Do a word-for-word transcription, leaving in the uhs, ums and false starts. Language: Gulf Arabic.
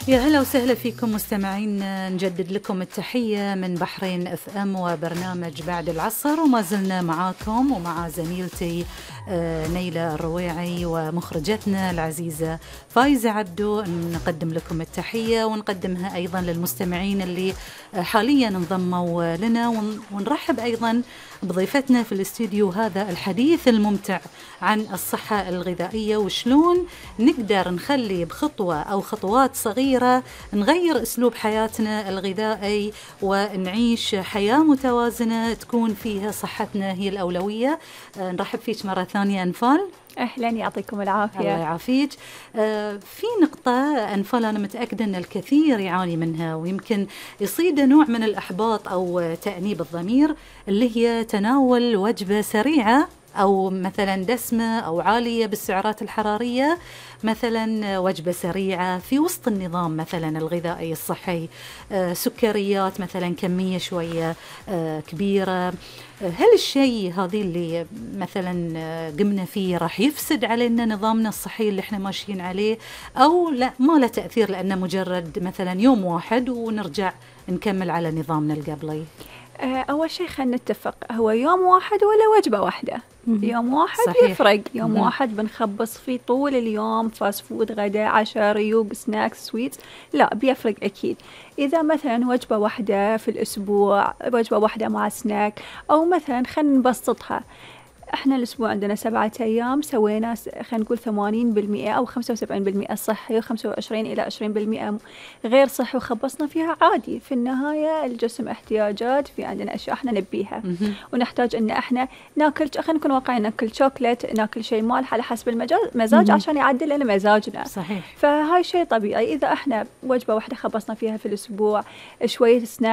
يا هلا وسهلا فيكم مستمعين، نجدد لكم التحية من بحرين اف ام وبرنامج بعد العصر، وما زلنا معاكم ومع زميلتي نيلة الرويعي ومخرجتنا العزيزة فايزة عبدو. نقدم لكم التحية ونقدمها أيضا للمستمعين اللي حاليا انضموا لنا، ونرحب أيضا بضيفتنا في الاستوديو هذا الحديث الممتع عن الصحة الغذائية وشلون نقدر نخلي بخطوة أو خطوات صغيرة نغير أسلوب حياتنا الغذائي ونعيش حياة متوازنة تكون فيها صحتنا هي الأولوية. أه نرحب فيك مرة ثانية أنفال. أهلا، يعطيكم العافية. الله يعافيك. آه في نقطة أنفال أنا متأكدة أن الكثير يعاني منها ويمكن يصيده نوع من الإحباط أو تأنيب الضمير، اللي هي تناول وجبة سريعة أو مثلا دسمة أو عالية بالسعرات الحرارية، مثلا وجبة سريعة في وسط النظام مثلا الغذائي الصحي، آه سكريات مثلا كمية شوية آه كبيرة. هل الشيء هذه اللي مثلا قمنا فيه راح يفسد علينا نظامنا الصحي اللي احنا ماشيين عليه، أو لا ما له تأثير لأنه مجرد مثلا يوم واحد ونرجع نكمل على نظامنا القبلي؟ أول شيء خلينا نتفق، هو يوم واحد ولا وجبة واحدة؟ يوم واحد صحيح. يفرق. يوم مم. واحد بنخبص فيه طول اليوم فاست فود، غداء، عشاء، ريوق، سناكس، سويتس، لا بيفرق أكيد. إذا مثلا وجبة واحدة في الأسبوع، وجبة واحدة مع سناك، أو مثلا خلينا نبسطها، احنا الأسبوع عندنا سبعة أيام، سوينا خلينا نقول ثمانين بالمئة أو خمسة وسبعين بالمئة صحي وخمسة وعشرين إلى عشرين بالمئة غير صحي، وخبصنا فيها عادي. في النهاية الجسم احتياجات، في عندنا أشياء احنا نبيها ونحتاج إن احنا ناكل، خلينا نكون واقعيين، ناكل شوكولات، ناكل شيء مالح على حسب المزاج عشان يعدل لنا مزاجنا. صحيح. فهاي شيء طبيعي. إذا احنا وجبة واحدة خبصنا فيها في الأسبوع، شوية سناك